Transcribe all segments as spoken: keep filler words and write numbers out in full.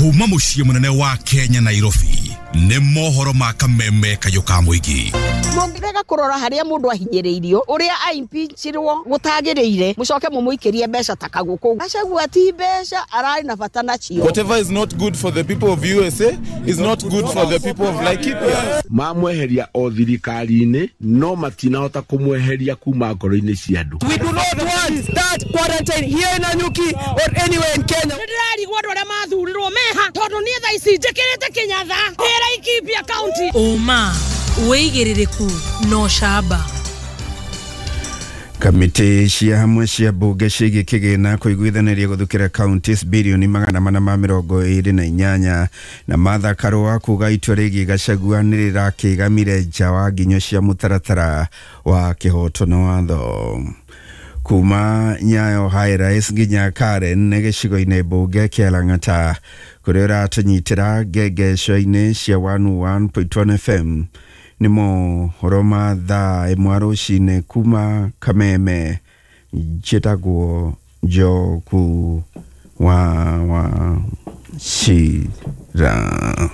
Kuma mũciĩ mũnene wa Kenya Nairobi nĩ mohoro ma kameme kayũ ka mũingĩ. Mũngĩrega kũrora harĩa mũndũ ahinyĩrĩirio ũrĩa aimpeachirwo gũtagĩrĩire mũcoke mũmũikĩrie mbeca ta kagũkũ. Gachagua ti mbeca ararĩ na bata nacio. Whatever is not good for the people of U S A is not good for the people of Laikipia. Mamweheria o thirikari-inĩ no matinahota kũmweheria kuma ngoro-inĩ cia andũ. We do not want that quarantine here in Nanyuki or anywhere in Kenya. Nĩndĩrarigwo andũ arĩa mathurirwo meha tondũ niĩ thaa ici njĩkĩrĩte Kĩnyatha Laikipia County. Ũma wĩigĩrĩrĩku no camba. Kamĩtĩ cia hamwe cia mbunge ciĩgiĩ kĩgĩna kũiguithanĩria gũthukĩra counties birioni magana mana ma mĩrongo ĩrĩ na inyanya na Martha Karua kuga itua rĩgiĩ Gachagua nĩ rĩrakĩgamire nja wa nginyo cia mũtaratara wa kĩhoto na watho. Kuma Nyayo High Rise nginya Karen nĩ gĩcigo-inĩ mbunge kĩa Lang'ata kũrĩa ũratũnyitĩra ngengeco-inĩ cia one oh one point one F M nĩ mohoro ma thaa ĩmwe rũcinĩ kuma Kameme. Njĩtagwo Njoku wa wa Shira.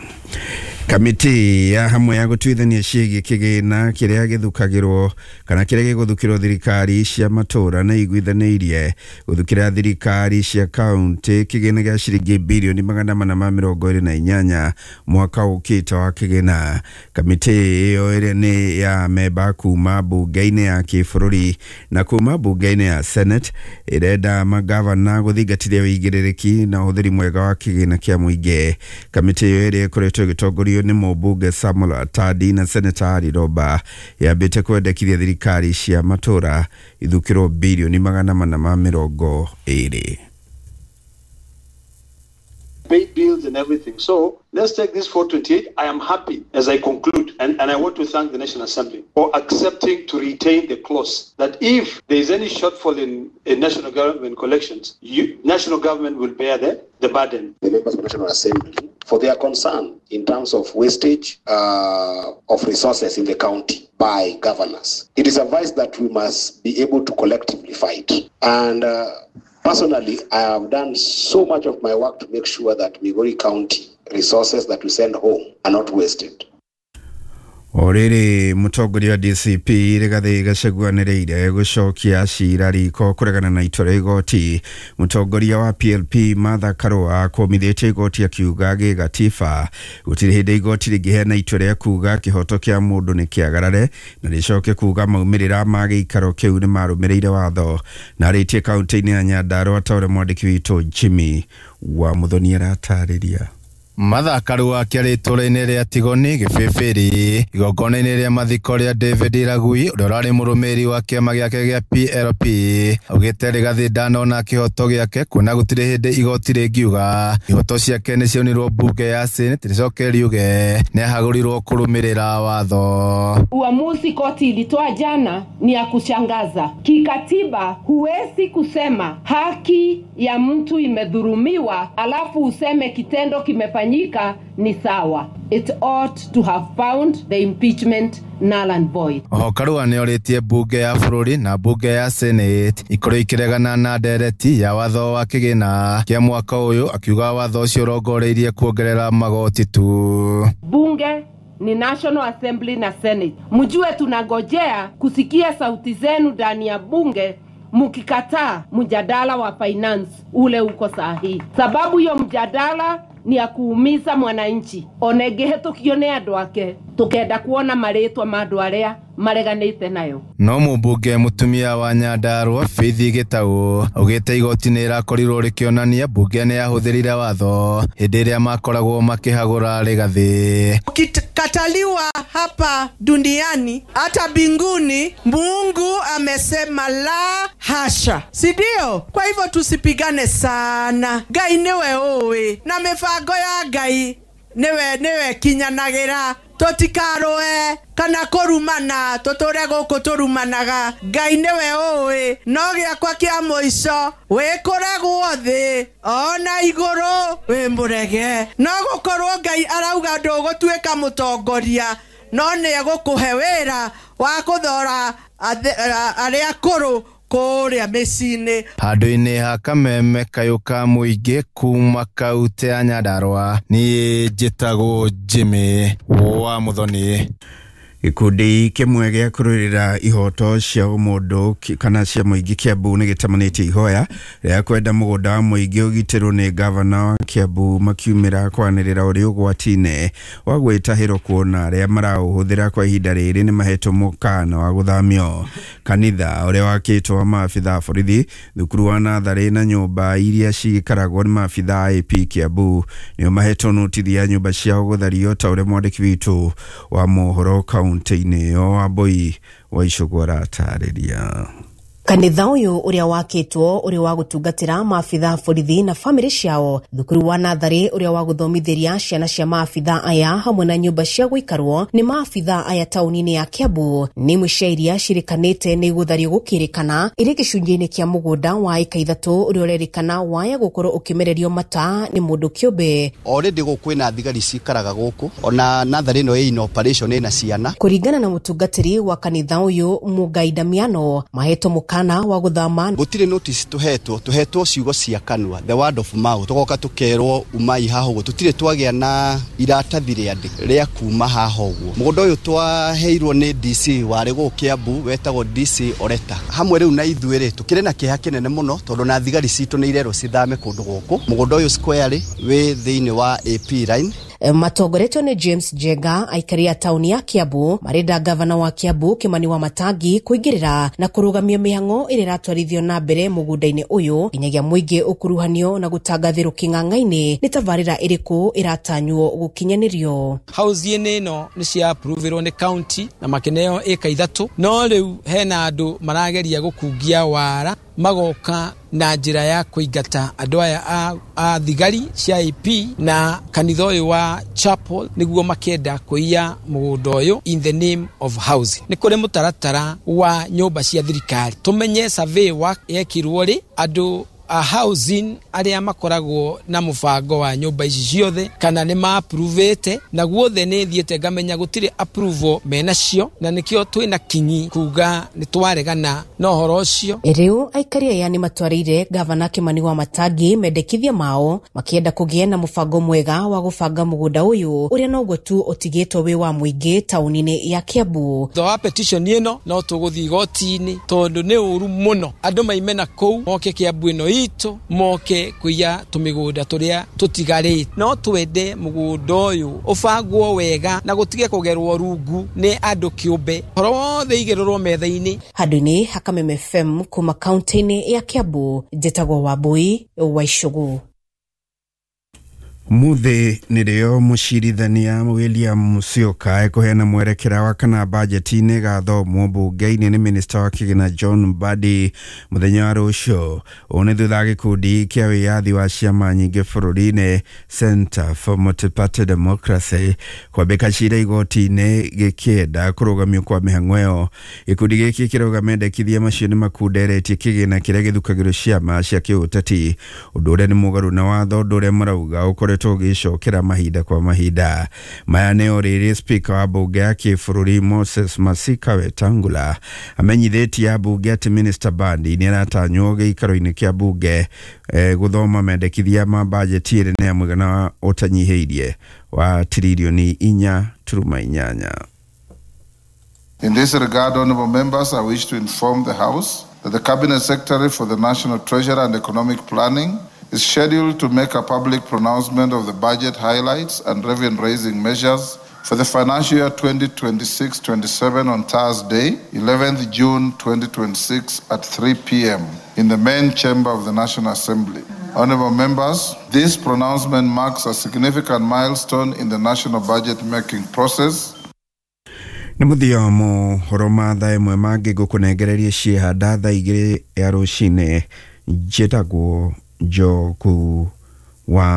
Kamĩtĩ ya hamwe ya gũtuithania ciĩgiĩ kĩgĩna kĩrĩa gĩthukagĩrwo kana kĩrĩa gĩgũthukĩrwo thirikari cia matũũra nĩ iguithanĩirie gũthukĩra thirikari cia kaunti kĩgĩna gĩa ciringi birioni magana mana ma mĩrongo ĩrĩ na inyanya mwaka ũkĩte wa kĩgĩna. Kamĩtĩ ĩyo ĩrĩa nĩ ya memba kuma mbunge-inĩ ya kĩbũrũri na kuma mbunge-inĩ ya Senate ĩrenda magavana gũthingatithia ũigĩrĩrĩki na ũhũthĩri mwega wa kĩgĩna kĩa mũingĩ. Kamĩtĩ ĩyo ĩrĩa ĩkoretwo ĩgĩtongorio nĩ mũmbunge Samuel Atandi na Senator Harry Roba yambĩte kwendekithia thirikari cia matũũra ithukĩrwo birioni magana mana ma mĩrongo ĩrĩ. Pay bills and everything. So let's take this four twenty-eight. I am happy as I conclude, and, and I want to thank the National Assembly for accepting to retain the clause that if there is any shortfall in, in national government collections, you, national government will bear the, the burden. The members of the National Assembly for their concern in terms of wastage uh, of resources in the county by governors. It is a vice that we must be able to collectively fight. And uh, personally, I have done so much of my work to make sure that Migori County resources that we send home are not wasted. O rĩrĩ mũtongoria wa D C P Rigathĩ Gachagua nĩreire gũcokia cira riko kũregana na itua rĩa igoti. Mũtongoria wa P L P Martha Karua kũmithĩtie igoti akiuga gĩgatiba gũtirĩ hĩndĩ igoti rĩngĩheana itua rĩa kuga kĩhoto kĩa mũndũ nĩ kĩagarare na rĩcoke kuga maumĩrĩra ma gĩikaro kĩu nĩ marũmĩrĩire watho. Na arĩtie kaunti-inĩ ya Nyandarua ta ũrĩa mwandĩki witũ Jimmy wa Muthoni aratarĩria. Martha Karua akĩaria itũũra-inĩ rĩa Tigoni Gĩbĩbĩri igongona-inĩ rĩa mathiko rĩa David Iragui ũrĩa ũrarĩ mũrũmĩrĩri wa kĩama gĩake gĩa P L P augĩte Rigathĩ ndanona kĩhoto gĩake kuona gũtirĩ hĩndĩ igoti rĩngiuga ihoto ciake nĩ cionirwo mbunge ya Senate rĩcoke riuge nĩahagũrirwo kũrũmĩrĩra watho. Uamuzi koti ilitoa jana ni ya kushangaza. Kikatiba huwezi kusema haki ya mtu imedhulumiwa alafu useme kitendo kimefanyika ni sawa. It ought to have found the impeachment null and void. Oho Karua nĩorĩtie mbunge ya bũrũri na mbunge ya Senate ikorwo ikĩregana na ndereti ya watho wa kĩgĩna kĩa mwaka ũyũ akiuga watho ũcio ũrongoreirie kuongerera magoti tu. Bunge ni National Assembly na Senate. Mjue tunangojea kusikia sauti zenu ndani ya bunge mukikataa mjadala wa finance ule uko sahihi. Sababu hiyo mjadala ni ya kuumiza mwananchi. Onege tukione andu ake tukenda kuona maritwa ma andu aria mareganite nayo. No mũmbunge mũtumia wa Nyandarua Faith Gĩtaũ augĩte igoti nĩ rĩrakorirwo rĩkĩonania mbunge nĩ yahũthĩrire watho hĩndĩ ĩrĩa makoragwo makĩhagũra Rigathĩ. Ukikataliwa hapa duniani hata mbinguni, Mungu amesema la hasha, si ndio? Kwa hivyo tusipigane sana. Ngai niwe ũĩ na mĩbango ya Ngai niwe niwe kinyanagira. Tũtikaroe kana kũrumana, tũtũre gũkũ tũrumanaga. Ngai nĩwe ũĩ, no gĩakwa kĩa mũico wĩkũregwo thĩ ona igũrũ wĩ mũrege. No gũkorwo Ngai arauga ndũgũtuĩka mũtongoria, no nĩ egũkũhe wĩra wa kũthora arĩa akũrũ kũrĩa mĩciĩ-inĩ. Handũ-inĩ ha kameme kayũ ka mũingĩ kuma kaunti ya Nyandarua, niĩ njĩtagwo Jimmy wa Muthoni. Gĩkundi kĩmwe gĩa kũrũĩrĩra ihoto cia ũmũndũ kana cia mũingĩ Kiambu nĩ gĩtamanĩtie ihoya rĩa kwenda mũgũnda wa mũingĩ ũgitĩrwo nĩ gavana wa Kiambu makiumĩra kwanĩrĩra ũrĩ ũgwati-inĩ wa gwĩtahĩrwo kuona arĩa maraũhũthĩra kwa ihinda rĩrĩ nĩ mahetwo mũkana wa gũthamio. Kanitha ũrĩa wakĩtwo wa maabitha a borithi, thukuru wa natharĩ na nyũmba iria ciikaragwo nĩ maabitha a A P Kiambu nĩo mahetwo notithi ya nyũmba ciao gũthario ta ũrĩa mwandĩki witũ wa mohoro kaunti kaunti-inĩ ĩyo Wambui wa Icũgũ aratarĩria. Kanitha ũyũ ũrĩa wakĩtwo ũrĩ wa gũtungatĩra maabitha borithi na bamĩrĩ ciao, thukuru wa natharĩ ũrĩa wa gũthomithĩria ciana cia maabitha aya hamwe na nyũmba cia gũikarwo nĩ maabitha aya taũni-inĩ ya Kiambu nĩ imwe cia iria cirĩkanĩte nĩ gũthario gũkĩrĩkana ĩrĩ gĩcunjĩ-inĩ kĩa mũgũnda wa ĩka ithatũ ũrĩa ũrerĩkana waya gũkorwo ũkĩmererio mata nĩ mũndũ kĩũmbe. Already gũkũ kwĩna thigari cikaraga gũkũ ona natharĩ ĩno ĩ in operation ĩna ciana. Kũringana na mũtungatĩri wa kanitha ũyũ Mũngai Damiano, mahetwo kana wa guthama gutire notice tuhetwo tuhetwo ciugo cia kanua, the word of mouth, tugoka tukerwo umai haho uguo, tutire twagia na iratathi rĩandĩke rĩa kuma haho uguo. Mũgũnda ũyũ twaheirwo nĩ D C warĩ gũkũ Kiambu wetagwo D C Oreta hamwe rĩu na ithuĩ rĩ tukĩrĩ na kĩeha kĩnene mũno tondũ na thigari citũ nĩ irerwo cithame kũndũ gũkũ. Mũgũnda ũyũ square wĩ thĩinĩ wa A P line. Matongoretio nĩ James Jenga aikari a taũni ya Kiambu marenda gavana wa Kiambu Kimani wa Matangi kũingĩrĩra na kũrũgamia mĩhang'o ĩrĩa ĩratwarithio na mbere mũgũnda-inĩ ũyũ nginyagia mũingĩ ũkuruhanio na gũtangathĩrwo kĩng'ang'a-inĩ nĩ tabarĩra ĩrĩkũ ĩratanywo gũkinyanĩrio. Housing ĩno nĩ cia approverwo nĩ county na makeneo ĩka ithatũ, no rĩu hena andũ marageria gũkungia wara magoka na njĩra ya kũingata andũ aya a, a thigari cia A P na kanitha ũyũ wa chapel nĩguo makenda kũiya mũgũnda ũyũ in the name of housing. Nĩ kũrĩ mũtaratara wa nyũmba cia thirikari, tũmenye survey work yekirwo rĩ andũ a housing arĩa makoragwo na mũbango wa nyũmba ici ciothe kana nĩ ma-approvĩte, na guothe nĩ thiĩte ngamenya gũtirĩ approval menacio, na nĩkĩo twĩna kinyi kuga nĩ twaregana na ũhoro ũcio. Rĩu aikari aya nĩ matwarĩire gavana Kimani wa Matangi mendekithia mao makĩenda kũgĩe na mũbango mwega wa gũbanga mũgũnda ũyũ ũrĩa noguo tu ũtigĩtwo wĩ wa mũingĩ taũni-inĩ ya Kiambu. Thutha wa petition ĩno no tũgũthiĩ igoti-inĩ tondũ nĩ ũru mũno andũ maime na kũu moke Kiambu ĩno itũ moke kuiya tũmĩgũnda tũrĩa tũtigarĩte. No twende mũgũnda ũyũ ũbangwo wega na gũtige kũgerwo rungu nĩ andũ kĩũmbe, ũhoro wothe igĩrĩrwo metha-inĩ. Handũ-inĩ ha Kameme F M kuma kaunti-inĩ ya Kiambu, njĩtagwo Wambui wa Icũgũ. Muthi nĩrĩo mũcirithania William Musyoka ekũheana mwerekera wa kana bajeti nĩ ĩgathomwo mbunge-inĩ nĩ minista wa kĩgĩna John Mbadi mũthenya wa rũciũ. Ũũ nĩ thutha wa gĩkundi kĩa wĩyathi wa ciama nyingĩ bũrũri-inĩ Center for Multiparty Democracy kwambĩka cira igoti-inĩ gĩkĩenda kũrũgamio kwa mĩhang'o ĩyo. Gĩkundi gĩkĩ kĩrauga mendekithia macio nĩ makunderetie kĩgĩna kĩrĩa gĩthukagĩrwo ciama cia kĩũteti, ũndũ ũrĩa nĩ mũgarũ na watho, ũndũ ũrĩa marauga ũkoretwo gĩcokera mahinda kwa mahinda. Maya nĩ orĩrĩ speaker wa bunge ya kĩbũrũri Moses Masika Wetangula amenyithĩtie ambunge atĩ Minister Mbadi nĩ aratanywo gĩikaro-inĩ kĩa bunge eh, gũthoma mendekithia ma bajeti ĩrĩ na mũigana ũtanyihĩirie wa tiririoni inya turuma inyanya. In this regard, honorable members, I wish to inform the House that the Cabinet Secretary for the National Treasury and Economic Planning is scheduled to make a public pronouncement of the budget highlights and revenue-raising measures for the financial year twenty twenty-six twenty-seven on Thursday, eleventh June twenty twenty-six at three p m in the main chamber of the National Assembly. Honorable members, this pronouncement marks a significant milestone in the national budget-making process. Nĩ mũthia wa mohoro ma thaa ĩmwe mangĩ ngũkũnengereria ciĩhanda thaa igĩrĩ ya rũcinĩ. Njĩtagwo Njogu wa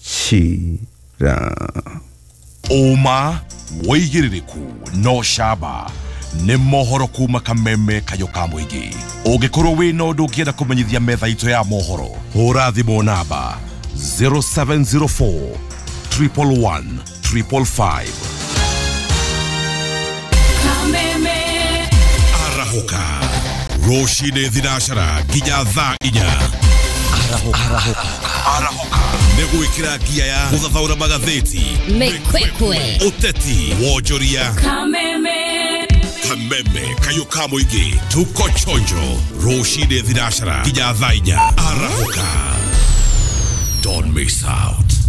Wachira. Ũma wĩigĩrĩrĩku no camba nĩ mohoro kuma Kameme kayũ ka mũingĩ. Ũngĩkorwo wĩna ũndũ ũngĩenda kũmenyithia metha itũ ya mohoro, hũra thimũ namba zero seven zero four, triple one, triple five. Arahũka. Rũcinĩ thinacara nginya thaa inya. Arahũka. Arahũka. Nĩ gwĩkĩra ngia ya gũthathaũra magathĩti, Mĩkwekwe, ũteti, wonjoria, Kameme, Kameme kayũ ka mũingĩ. Tuko chonjo rũcinĩ thinacara nginya thaa inya. Arahũka. Don't miss out.